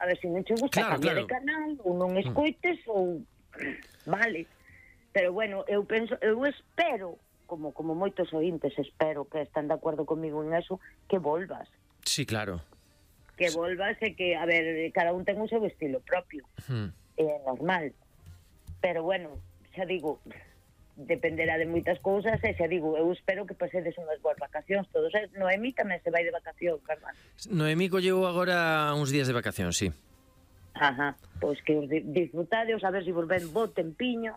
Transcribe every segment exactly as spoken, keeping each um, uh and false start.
A ver, se non che gusta, Claro, cambia claro. de canal, ou non escoites, ou... Vale. Pero, bueno, eu penso, eu espero, como como moitos ointes, espero que están de acordo comigo en eso, que volvas. Sí, claro. Que volvas e que, a ver, cada un ten o seu estilo propio. Hmm. É normal. Pero, bueno, xa digo, dependerá de moitas cousas, e xa digo, eu espero que pasedes unhas boas vacacións todos. Eh? Noemí tamén se vai de vacacións, verdad? Noemí colleu agora uns días de vacacións, sí. Ajá, pois que os disfrutadeos, a ver se vos ven bo tempiño.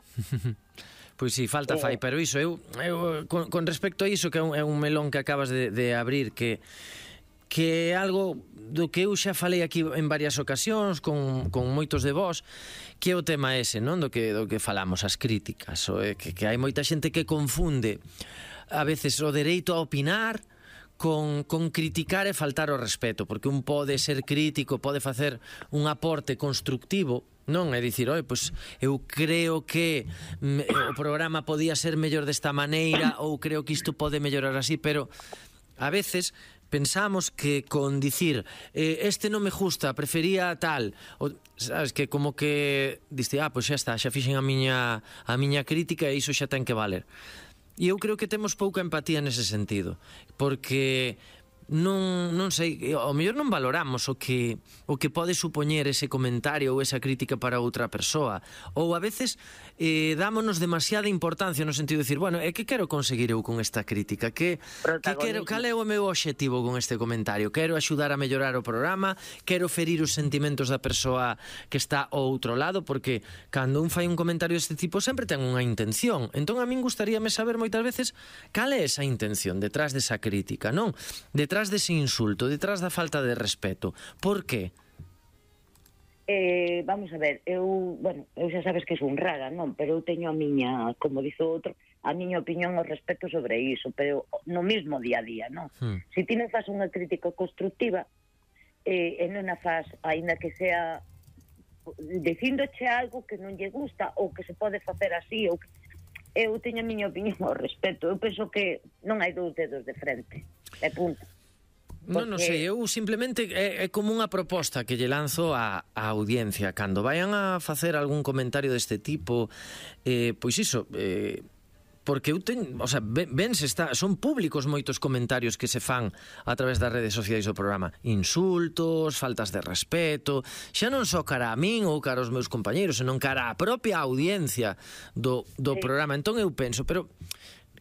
Pois si, sí, falta fai, pero iso, eu, eu con, con respecto a iso, que é un, é un melón que acabas de, de abrir, que que é algo do que eu xa falei aquí en varias ocasións con, con moitos de vós, que é o tema ese, non? Do que, do que falamos, as críticas, o, é, que, que hai moita xente que confunde a veces o dereito a opinar con, con criticar e faltar o respeto, porque un pode ser crítico, pode facer un aporte constructivo, non? É dicir, oi, pois eu creo que me, o programa podía ser mellor desta maneira, ou creo que isto pode mellorar así, pero a veces pensamos que con dicir eh, este non me gusta, prefería tal, o, sabes, que como que diste, ah, pois xa está, xa fixen a miña a miña crítica e iso xa ten que valer. E eu creo que temos pouca empatía nese sentido, porque non, non sei, ao mellor non valoramos o que o que pode supoñer ese comentario ou esa crítica para outra persoa, ou a veces eh, dámonos demasiada importancia no sentido de decir, bueno, é que quero conseguir eu con esta crítica, que, que quero, cal é o meu obxectivo con este comentario? Quero axudar a mellorar o programa, quero ferir os sentimentos da persoa que está ao outro lado, porque cando un fai un comentario deste tipo sempre ten unha intención. Entón a min gustaríame saber moitas veces cal é esa intención detrás desa crítica, non? Detrás dese insulto, detrás da falta de respeto. Por qué? Eh, vamos a ver, eu, bueno, eu xa sabes que son rara, non? Pero eu teño a miña, como dice outro, a miña opinión ao respecto sobre iso, pero no mismo día a día, non? Hmm. Se ti non faz unha crítica constructiva, eh, e non a faz, aínda que sea dicíndoche algo que non lle gusta, ou que se pode facer así, ou que... eu teño a miña opinión ao respecto. Eu penso que non hai dous dedos de frente, e punto. Non, non sei, eu simplemente é, é como unha proposta que lle lanzo á, á audiencia. Cando vayan a facer algún comentario deste tipo, eh, pois iso, eh, porque eu teño, o sea, ven, se está, son públicos moitos comentarios que se fan a través das redes sociais do programa. Insultos, faltas de respeto, xa non só cara a min ou cara aos meus compañeiros, senón cara a propia audiencia do, do sí. programa. Entón eu penso, pero...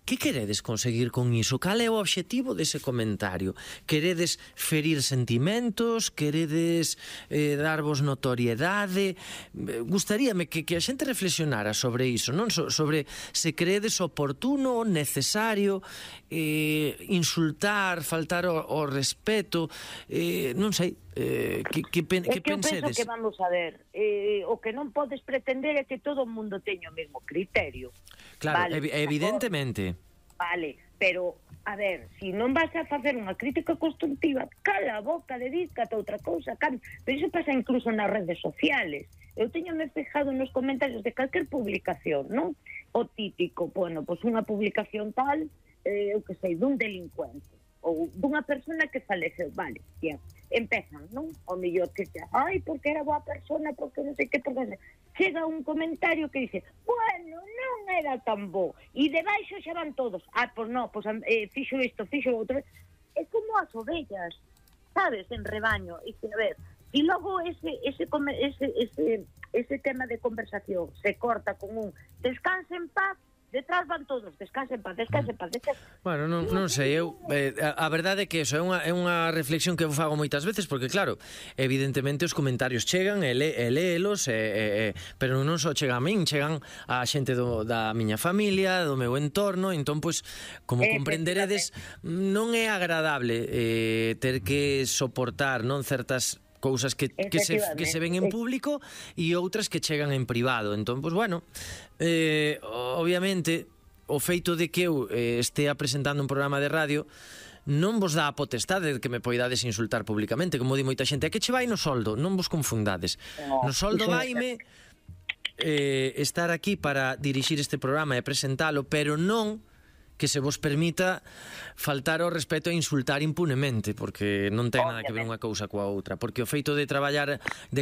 que queredes conseguir con iso? Cal é o obxectivo dese comentario? Queredes ferir sentimentos? Queredes eh, darvos notoriedade? Gustaríame que, que a xente reflexionara sobre iso, non? So, sobre se creedes oportuno, necesario, eh, insultar, faltar o, o respeto, eh, non sei, eh, que, que, pen, que, que pensedes? É que eu pensedes? penso que, vamos a ver, eh, o que non podes pretender é que todo o mundo teña o mesmo criterio. Claro, vale, ev evidentemente. Vale, pero, a ver, se si non vas a facer unha crítica constructiva, cala a boca, dedícate a outra cousa, cambia. Pero iso pasa incluso nas redes sociales. Eu teñome fijado nos comentarios de calquer publicación, non? O típico, bueno, pois unha publicación tal, eh, eu que sei, dun delincuente, ou dunha persona que faleceu, vale, bien. Empezan, non? O mellor que xa, ai, porque era boa persona, porque non sei que, porque... chega un comentario que dice, bueno, non era tan bo, e debaixo xa van todos, ah, pois non, pois eh, fixo isto, fixo outro, é como as ovellas, sabes, en rebaño, e que, a ver, e logo ese, ese, ese, ese, ese tema de conversación se corta con un descanse en paz, detrás van todos, descansen paz, descansen paz, descansen. Bueno, non, non sei, eu eh, a, a verdade é que eso é unha, é unha reflexión que eu fago moitas veces, porque claro, evidentemente os comentarios chegan e, le, e léelos, e, e, e, pero non só chegan a min, chegan a xente do, da miña familia, do meu entorno, entón, pois, como comprenderedes, non é agradable eh, ter que soportar, non, certas cousas que, que, se, que se ven en público e outras que chegan en privado. Entón, pois, bueno, eh, obviamente o feito de que eu eh, estea presentando un programa de radio non vos dá a potestade de que me poidades insultar públicamente, como di moita xente, é que che vai no soldo, non vos confundades. No soldo vaime eh, estar aquí para dirixir este programa e presentalo, pero non que se vos permita faltar ao respeto e insultar impunemente, porque non ten nada que ver unha cousa coa outra, porque o feito de traballar de